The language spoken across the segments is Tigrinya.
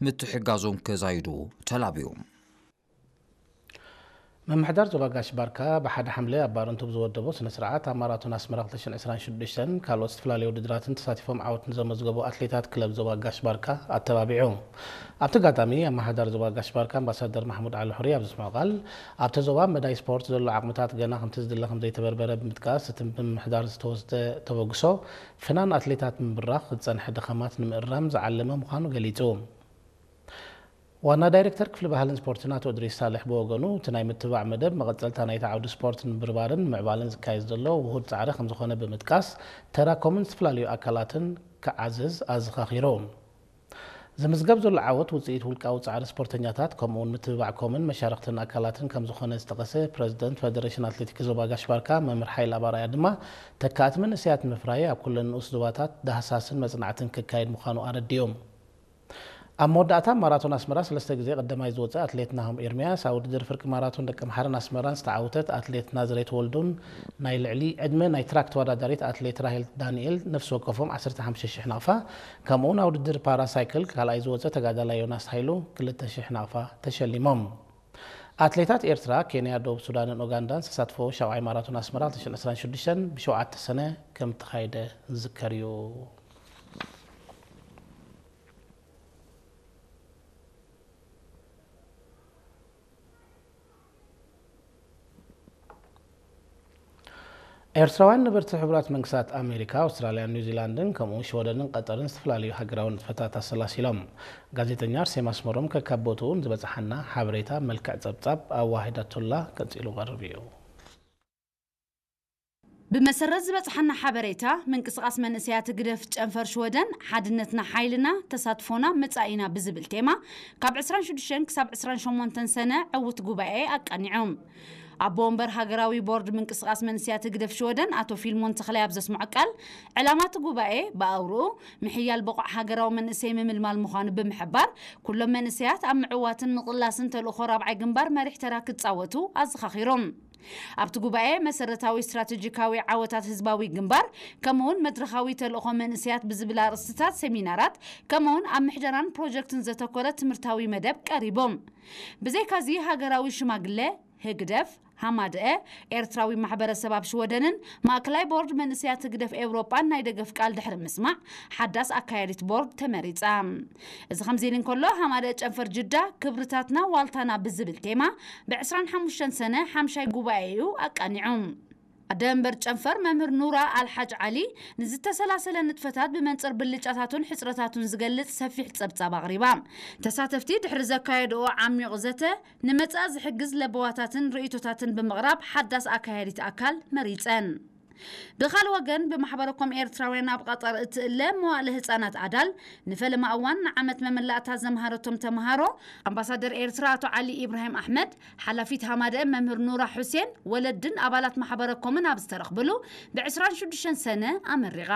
ምትሕጋዞም ከዛይዱ ተላብዮም። ምምሕዳር ዞባ ጋሽ ባርካ ብሓደ ሓምለ ኣብ ባረንቱ ብዝወደቦ ስነ ስርዓት ኣብ ማራቶን ኣስመራ ክልተ ሽሕን ዕስራን ሽዱሽተን ካልኦት ዝተፈላለዩ ውድድራትን ተሳቲፎም ዓወት ንዘመዝገቡ ኣትሌታት ክለብ ዞባ ጋሽ ባርካ ኣተባቢዑ። ኣብቲ ኣጋጣሚ ኣመሓዳሪ ዞባ ጋሽ ባርካ ኣምባሳደር ማሕሙድ ዓሊ ሑሪ ኣብ ዘስምዖ ቃል፣ ኣብቲ ዞባ መዳይ ስፖርት ዘሎ ዓቕምታት ገና ከምቲ ዝድለ ከምዘይተበርበረ ብምጥቃስ፣ እቲ ብምምሕዳር ዝተወስደ ተበግሶ ፍናን ኣትሌታት ንምብራኽ ዝጸንሐ ድኻማት ንምእራም ዝዓለመ ምዃኑ ገሊጹ። ዋና ዳይሬክተር ክፍሊ ባህልን ስፖርትን ኣቶ እድሪስ ሳልሕ ብወገኑ፣ እቲ ናይ ምትብባዕ መደብ መቐጸልታ ናይቲ ዓውዲ ስፖርት ንምብርባርን ንምዕባልን ዝካየድ ዘሎ ውሁድ ጻዕሪ ከምዝኾነ ብምጥቃስ፣ ተራ ኮምን ዝተፈላለዩ ኣካላትን ክዓዝዝ ኣዘኻኺሩ። ዝምዝገብ ዘሎ ዓወት ውጽኢት ውልቃዊ ጻዕሪ ስፖርተኛታት ከምኡውን ምትብባዕ ኮምን መሻርኽትን ኣካላትን ከምዝኾነ ዝጠቐሰ ፕረዚደንት ፈደሬሽን ኣትሌቲክስ ዞባ ጋሽ ባርካ መምህር ሓይለ ኣባራያ ድማ፣ ተካእቲ መንእሰያት ንምፍራይ ኣብ ኩለን ንኡስ ዞባታት ዳህሳስን መጽናዕትን ክካየድ ምዃኑ ኣረዲኦም። ኣብ መወዳእታ ማራቶን ኣስመራ ሰለስተ ግዜ ቀዳማይ ዝወጸ ኣትሌት ናሆም ኤርምያስ፣ ኣብ ውድድር ፍርቂ ማራቶን ደቀምሓረን ኣስመራን ዝተዓወተት ኣትሌት ናዝሬት ወልዱን ናይ ልዕሊ ዕድመ ናይ ትራክ ተወዳዳሪት ኣትሌት ራሄል ዳንኤል ነፍሲ ወከፎም ዓሰርተ ሓሙሽተ ሽሕ ናቕፋ፣ ከምኡውን ኣብ ውድድር ፓራ ሳይክል ካልኣይ ዝወጸ ተጋዳላይ ዮናስ ሃይሉ ክልተ ሽሕ ናቕፋ ተሸሊሞም። ኣትሌታት ኤርትራ፣ ኬንያ፣ ደቡብ ሱዳንን ኡጋንዳን ዝተሳትፈዎ ሻብዓይ ማራቶን ኣስመራ ክልተ ሽሕን ዕስራን ሽዱሽተን ብሸውዓተ ሰነ ከም ተኻየደ ዝዝከር እዩ። ኤርትራውያን ነበርቲ ሕቡራት መንግስታት ኣሜሪካ፣ ኣውስትራልያን ኒውዚላንድን ከምኡ ሽወደንን ቀጠርን ዝተፈላለዩ ሃገራዊ ንጥፈታት ኣሰላሲሎም። ጋዜጠኛ ኣርሴማ ኣስመሮም ከካብ ቦትኡ ንዝበጽሓና ሓበሬታ መልክዕ ጸብጻብ ኣዋሂዳቶላ ቀጺሉ ቀርብ እዩ። ብመሰረት ዝበጽሓና ሓበሬታ፣ ምንቅስቓስ መንእሰያት ህግደፍ ጨንፈር ሽወደን ሓድነትና ሓይልና፣ ተሳትፎና መጻኢና ብዝብል ቴማ ካብ ዕስራን ሽዱሽተን ክሳብ ዕስራን ሸሞንተን ሰነ ዕዉት ጉባኤ ኣቃኒዖም። ኣቦ ወንበር ሃገራዊ ቦርድ ምንቅስቓስ መንእሰያት ህግደፍ ሽወደን ኣቶ ፊልሞን ተኽላይ ኣብ ዘስምዖ ቃል፣ ዕላማ እቲ ጉባኤ ብኣውርኡ ምሕያል ብቑዕ ሃገራዊ መንእሰይ ምምልማል ምዃኑ ብምሕባር፣ ኩሎም መንእሰያት ኣብ ምዕዋትን ምቕላስን ተልእኾ ራብዓይ ግንባር መሪሕ ተራ ክጻወቱ ኣዘኻኺሮም። ኣብቲ ጉባኤ መሰረታዊ ስትራቴጂካዊ ዓወታት ህዝባዊ ግንባር፣ ከምኡውን መድረኻዊ ተልእኾ መንእሰያት ብዝብል ኣርእስትታት ሰሚናራት፣ ከምኡውን ኣብ ምሕደራን ፕሮጀክትን ዘተኮረ ትምህርታዊ መደብ ቀሪቦም። ብዘይካዚ ሃገራዊ ሽማግለ፣ ህግደፍ፣ ሃማደአ፣ ኤርትራዊ ማሕበረሰብ ኣብ ሽወደንን ማእከላይ ቦርድ መንእሰያት ህግደፍ ኤውሮጳን ናይ ደገፍ ቃል ድሕሪ ምስማዕ፣ ሓዳስ ኣካያዲት ቦርድ ተመሪጻ። እዚ ከምዚ ኢሉ እንከሎ፣ ሃማደአ ጨንፈር ጅዳ፣ ክብርታትና ዋልታና ብዝብል ቴማ፣ ብ ዕስራን ሓሙሽተን ሰነ ሓምሻይ ጉባኤኡ ኣቃኒዑ። ኣደ መንበር ጨንፈር መምህር ኑራ ኣልሓጅ ዓሊ ንዝተሰላሰለ ንጥፈታት ብመንጽር ብልጫታቱን ሕጽረታቱን ዝገልጽ ሰፊሕ ጸብጻብ ኣቕሪባ። ተሳተፍቲ ድሕሪ ዘካየድኦ ዓሚቕ ዘተ፣ ንመጻኢ ዝሕግዝ ለበዋታትን ርእይቶታትን ብምቕራብ ሓዳስ ኣካያዲት ኣካል መሪጸን። ብኻልእ ወገን፣ ብማሕበረኮም ኤርትራውያን ኣብ ቐጠር እትእለ መዋእለ ህጻናት ኣዳል፣ ንፈለማ እዋን ንዓመት መመላእታ ዘምሃረቶም ተምሃሮ፣ ኣምባሳደር ኤርትራ ኣቶ ዓሊ ኢብራሂም ኣሕመድ፣ ሓላፊት ሃማደአ መምህር ኑራ ሑሴን፣ ወለድን ኣባላት ማሕበረኮምን ኣብ ዝተረኽብሉ፣ ብ ዕስራን ሽዱሽተን ሰነ ኣመሪቓ።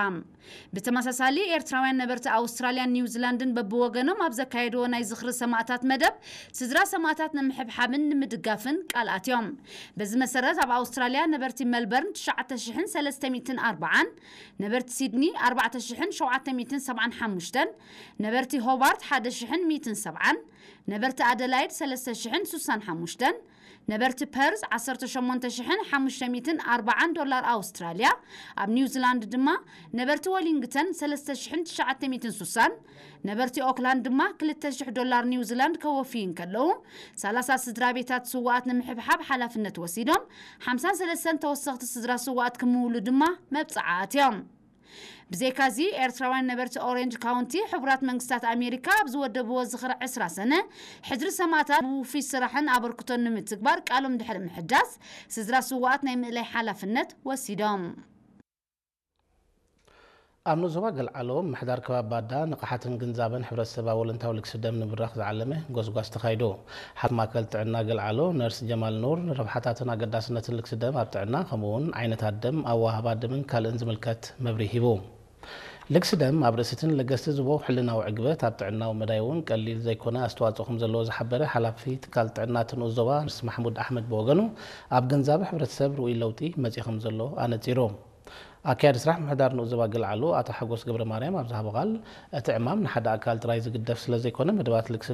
ብተመሳሳሊ፣ ኤርትራውያን ነበርቲ ኣውስትራልያን ኒውዚላንድን በብወገኖም ኣብ ዘካየድዎ ናይ ዝኽሪ ሰማእታት መደብ፣ ስድራ ሰማእታት ንምሕብሓብን ንምድጋፍን ቃል ኣትዮም። በዚ መሰረት፣ ኣብ ኣውስትራልያ ነበርቲ መልበርን ትሽዓተ ሽሕን ሰለስተ ሚእትን ኣርባዓን፣ ነበርቲ ሲድኒ ኣርባዕተ ሽሕን ሸውዓተ ሚእትን ሰብዓን ሓሙሽተን፣ ነበርቲ ሆባርት ሓደ ሽሕን ሚእትን ሰብዓን፣ ነበርቲ ኣደላይድ ሰለስተ ሽሕን ስሳን ሓሙሽተን፣ ነበርቲ ፐርዝ ዓሰርተ ሸሞንተ ሽሕን ሓሙሽተ ሚእትን ኣርባዓን ዶላር ኣውስትራልያ፣ ኣብ ኒውዚላንድ ድማ ነበርቲ ወሊንግተን ሰለስተ ሽሕን ትሽዓተ ሚእትን ስሳን፣ ነበርቲ ኦክላንድ ድማ ክልተ ሽሕ ዶላር ኒውዚላንድ ከወፍዩ እንከለዉ፣ ሰላሳ ስድራ ቤታት ስውኣት ንምሕብሓብ ሓላፍነት ወሲዶም፣ ሓምሳን ሰለስተን ተወሰኽቲ ስድራ ስውኣት ክምውሉ ድማ መብጽዓ ኣትዮም። ብዘይካዚ፣ ኤርትራውያን ነበርቲ ኦሬንጅ ካውንቲ፣ ሕቡራት መንግስታት ኣሜሪካ ኣብ ዝወደብዎ ዝኽሪ ዕስራ ሰነ፣ ሕድሪ ሰማእታት ብውፉይ ስራሕን ኣበርክቶን ንምትግባር ቃሎም ድሕሪ ምሕዳስ፣ ስድራ ስውኣት ናይ ምእላይ ሓላፍነት ወሲዶም። ኣብ ንኡስ ዞባ ገልዓሎ፣ ምምሕዳር ከባቢ ባዳ ንቕሓትን ግንዛበን ሕብረተሰብ ኣብ ወለንታዊ ልግሲ ደም ንምብራኽ ዝዓለመ ጎስጓስ ተኻይዱ። ሓላፊ ማእከል ጥዕና ገልዓሎ ነርስ ጀማል ኑር፣ ንረብሓታትን ኣገዳስነትን ልግሲ ደም ኣብ ጥዕና፣ ከምኡ'ውን ዓይነታት ደም፣ ኣወሃህባ ደምን ካልእን ዝምልከት መብርሂ ሂቡ። ልግሲ ደም ኣብ ርእሲትን ለገስቲ ዝቦ ሕልናዊ ዕግበት፣ ኣብ ጥዕናዊ መዳይ እውን ቀሊል ዘይኮነ ኣስተዋጽኦ ከም ዘለዎ ዝሓበረ ሓላፊ ትካል ጥዕና እቲ ንኡስ ዞባ ነርስ ማሕሙድ ኣሕመድ ብወገኑ፣ ኣብ ግንዛበ ሕብረተሰብ ርኡይ ለውጢ መጺኡ ከም ዘሎ ኣነጺሩ። ኣካያዲ ስራሕ ምሕዳር ንኡስ ዞባ ገልዓሉ ኣቶ ሓጎስ ገብረ ማርያም ኣብ ዝሃቦ ቃል፣ እቲ ዕማም ንሓደ ኣካል ጥራይ ዝግደፍ ስለ ዘይኮነ፣ መደባት ልግሲ